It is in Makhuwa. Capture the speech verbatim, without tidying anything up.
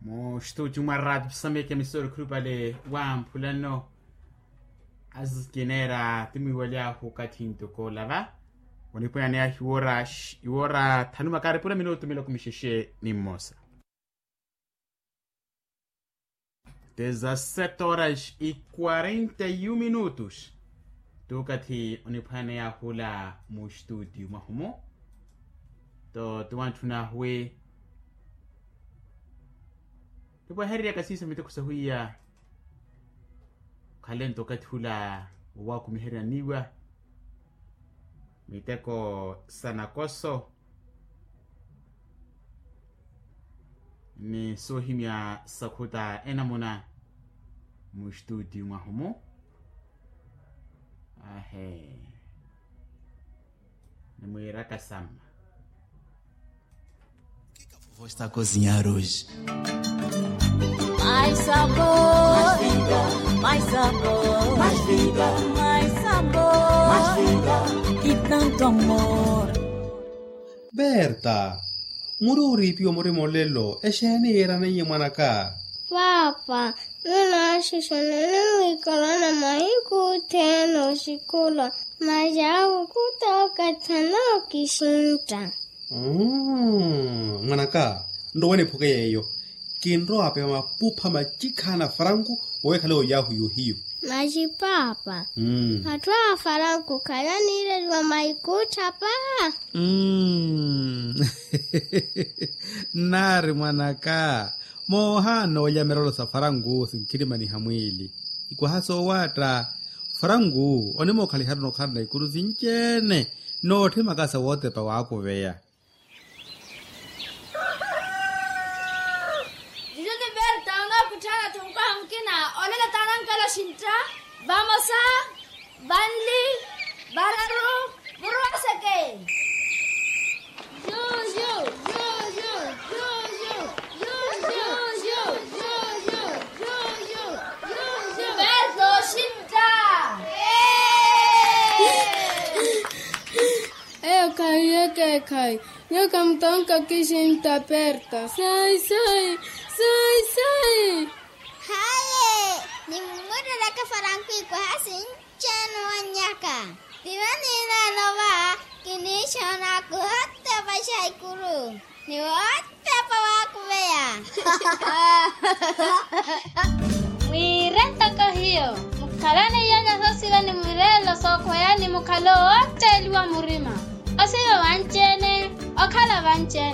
Muxtuuti mwa raati pisameke misori khulupale wa mphulano. Azikineera ti mwiiwaly'ahu okathi ntoko olava. Onipweyaneyahu iwoora thanu makaari pula minutu miloko mixexe ni mmosa. Dezasete horas e quarenta e um minutos. Tukathi oniphaneya hula mu studio mwahumu. To tuwantthuna hwi tupwahererya kasiisa miteko sahwiya. Khalento okathi hula owakumiherya niwa miteko sa nakoso. Ni soohimya sakhuta enamuna mu studio mwahumu. Ahe. Ni mwiiraka samma. Vou estar a cozinhar hoje. Mais sabor, mais vida, mais sabor, mais vida, mais sabor, mais vida, mais vida, e tanto amor. Berta, muri oriipiwa murima olelo exeeni yiiraneiye mwanaka? Paapa, nunaaxixana nimwiikarana mahiku othene oxikulwa. Masi awo khutookathana okixintta. Mwanaka, nrowa niphuke yeeyo. Kinrowa apewa mapupha macikhana faranku owekhale oyahu yohiyo. Masi paapa, atthu a faranku khalaniireliwa maikuttha pa. Nnaari mwanaka, moohaana olya mirolo sa faranku sinkhirimaniha mwiili. Ikwaha soowaatta, faranku onimokhaliharuna okhalana ikuru sinci-ene. Nootthimaka sa wootepa waakuveya. Juju ni berta onookutthaana-tho nkaha mukina. Olelo taanankela oxintta. Vamosa, vanli, vararu, muruwaseke. Juju, juju, juju. Berta oxintta. Eyo khayi, eyo khayi. Nyuwo khamutonka okixintta, berta. Sai sai, sai sai. Haye, nimumureleke faranku ikwaha sinci-ene owannyaka. Vino niineela ova, kiniixoona kuhotepa xaikuru. Ni wootepa waakuveya. Mwiire ntoko hiyo, mukhalane iyanya soosiva ni mwiireelo sookhweya ni mukhalo wootteliwa murima. Osiva vanci-ene, okhala vanci-ene.